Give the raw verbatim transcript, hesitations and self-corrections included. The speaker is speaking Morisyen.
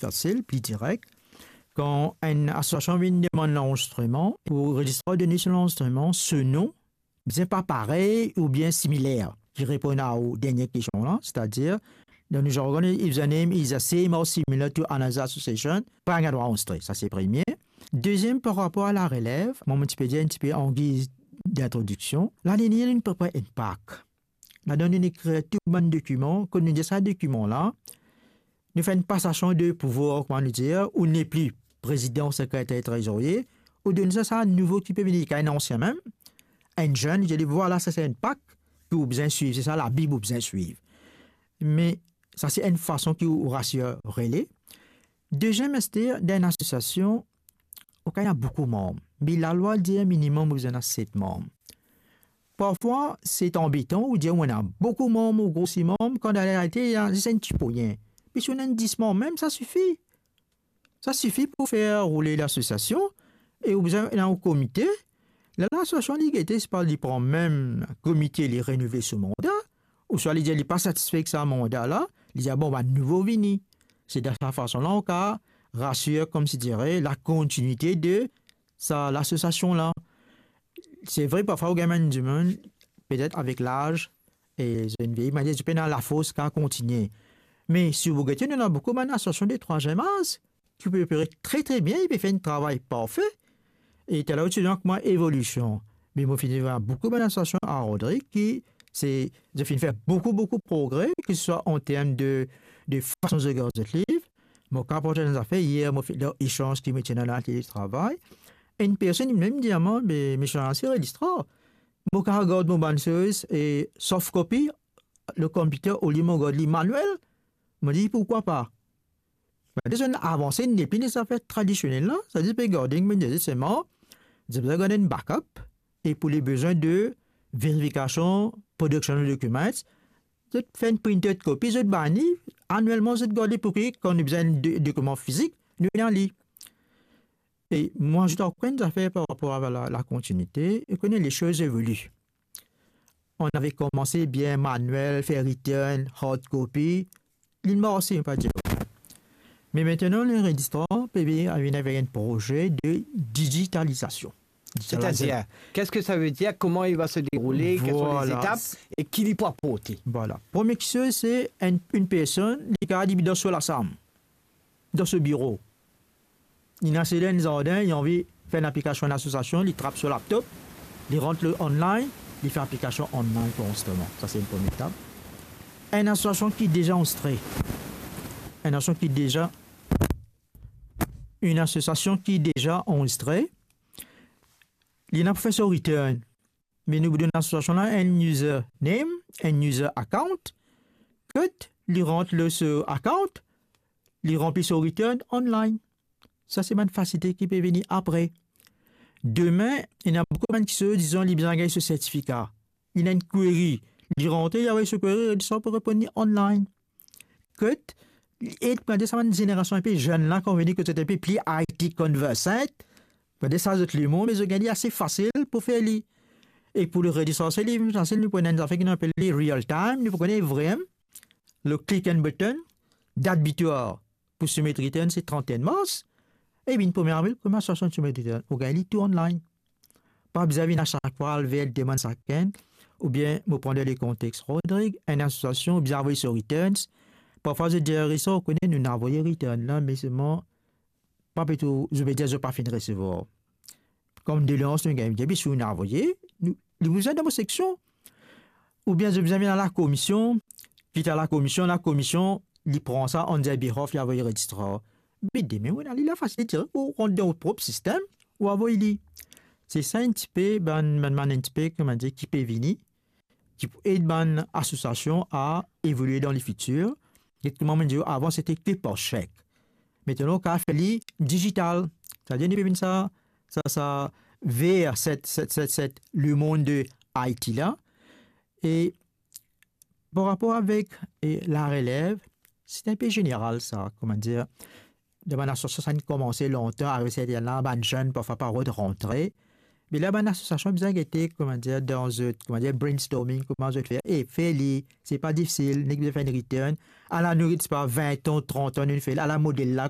fasil, pli direk. Kan enn asosiasion vinn demann lanrezistreman, pou rezistrar done so lanrezistreman, so nom bizin pa parey oubien similer, ki reponn a ou dernie kestion la, setadir, dan nou jargon, username is the same or similar to another association, pa gagn drwa anrezistre, sa se premie. Deziem, par rapor a larelev, mwa, mo ti pe dir enn tipe an giz dintrodiksion, la, nou ena enn paper enn pak. Ladan nou ekrir tou bann dokiman, kot nou dir sa dokiman la, nou fer enn pasasion de pouvwar, kouma nou dir, ou nepli prezidan, sekreter, trezorie, ou donn sa, sa nouvo ki pe vini, ki enn ansien mem, enn zenn, li dir li, vwala, sa se enn pak ki ou bizin swiv, se sa Labib ou bizin swiv. Me sa se enn fason ki ou rasir li. Deziem, ester, dan enn asosiasion, ou kapav ena boukou manm. Me lalwa dir minimem ou bizin ena set manm. Parfwa, se anbetan, ou dir ou ena boukou manm, ou grosi manm, kan dan larealite, ena zis enn ti poign. Me si ou ena enn dis manm mem, sa sifi. Sa sifi pou fer roule lasosiasion, e ou bizin ena ou komite. Ler lasosiasion li gete, si pa li pran mem komite, li renouvel so manda, ouswa li dir li pa satisfe ek sa manda la, li dir, bon, bann nouvo vini. Se dan sa fason la, ou kapav rasir, koumsi dire, lakontinite de sa lasosiasion la. Se vre, parfwa ou gagn bann dimoun, petet avek laz, e zot vinn vieyi, me zot pena lafors kapav kontigne. Me si ou gete, nou ena boukou bann asosiasion de trwaziem az, ki pe opere tre, tre bien, li pe fer enn travay parfe. E taler ou ti dir kouma evolision. Me mo finn vwar boukou bann asosiasion a Rodrig ki se, zot finn fer boukou, boukou progre, ki se swa an term de, de fason zot gard zot liv. Mo kapav partaze enn zafer, yer mo finn, dan esanz ki mo ti ena dan latelie travay, enn personn mem dir mwa, me, me Misie Arnaud, se rezistrar. Mo kapav gard mo bann soz, e soft copy, lor konpiter, olie mo gard li manuel. Mo dir, pourkwa pa? Be, zot avanse, nepli dan zafer tradisionel la, setadir pe gard, mo dir, selman, zot bizin gard enn backup, e pou le bizin de verifikasion, production of documents, zot fer enn printed copy, zot bann li, anuelman zot gard li, pou ki kan nou bizin de, dokiman fizik, nou ena li. E mwa, zot ankor enn zafer par rapor a la, lakontinite, ou kone, les choses évoluent. On ave koumanse bien manuel, fer return, hard copy, li marse, pa dir. Me aster, le rezistrar pe vinn avek enn proze de digitalizasion. Setadir, qu'est-ce que ça veut dire, comment il va se dérouler, quelles sont les étapes et ki li pou aporte? Vwala. Premie kiksoz, se enn, enn personn, li kapav depi dan so lasam, dan so biro. Li ena se dan enn zardin, li anvi fer enn aplikasion lasosiasion, li trap so laptop, li rant lor online, li fer aplikasion online pou anrezistreman. Sa se enn premie etap. Enn asosiasion ki deza anrezistre. Enn asosiasion ki deza, enn asosiasion ki deza anrezistre, li ena pou fer so return. Me nou pou donn lasosiasion la enn username, enn user account. Kot li rant lor so account, li ranpli so return online. Sa se bann fasilite ki pe vini apre. Demin, ena boukou bann kiksoz, dizon, li bizin gagn so sertifika. Li ena enn query, li rantre, li avoy so query, rezistrar pou reponn li online. Kot li ed, kouma dir, sa bann zenerasion enpe zenn la, kan vini, kot zot enpe pli I T conversant, kouma dir, sa zot lemond, me zot gagn li ase fasil pou fer li. E pou le rezistrar, se li fasil, nou pou ena enn zafer ki nou apel li real time, nou pou kone vremem, le click and button, dat bitwar pou soumet return se trant-e-enn mars, e vinn premie avril, kouma swa soumet return, ou gagn li tou online. Pa bizin vinn a sak fwa al ver demann sakenn, oubien mo pran dan le kontex Rodrig, enn asosiasion, ou bizin avoy so returns. Parfwa zot dir, rezistrar, ou kone, nou ena avoy return la, me selman, pa pe tou, zot pe dir zot pa finn resevwar. Kom doleans nou gagn, depi si ou ena avoye, nou, li pou vinn dan mo seksion. Oubien zot bizin vinn a lakomision, kit a lakomision, lakomision, li pran sa on their behalf, li avoy rezistrar. Me demin, ou ena li la fasilite, ou rant dan ou prop sistem, ou avoy li. Se sa enn tipe, bann, bann, bann enn tipe, kouma dir, ki pe vini, ki pou ed bann asosiasion a evolie dan lefitir. Get kouma mo dir, avan, sete ke par sek. Aster, ou kapav fer li digital. Setadir, nou pe vinn sa, sa, sa, ver set, set, set, set lemond de I T la. E par rapor avek, e, larelev, se enpe zeneral sa, kouma dir, dan bann asosiasion, sa inn koumanse lontan, arive sertin la, bann zenn parfwa pa rod rantre. Me la, bann asosiasion bizin gete, kouma dir, dan zot, kouma dir, brainstorming, kouma zot fer. E fer li, se pa difisil, nek bizin fer enn return. Ala nou ret pa vin an, trant an, nou fer, ala model la,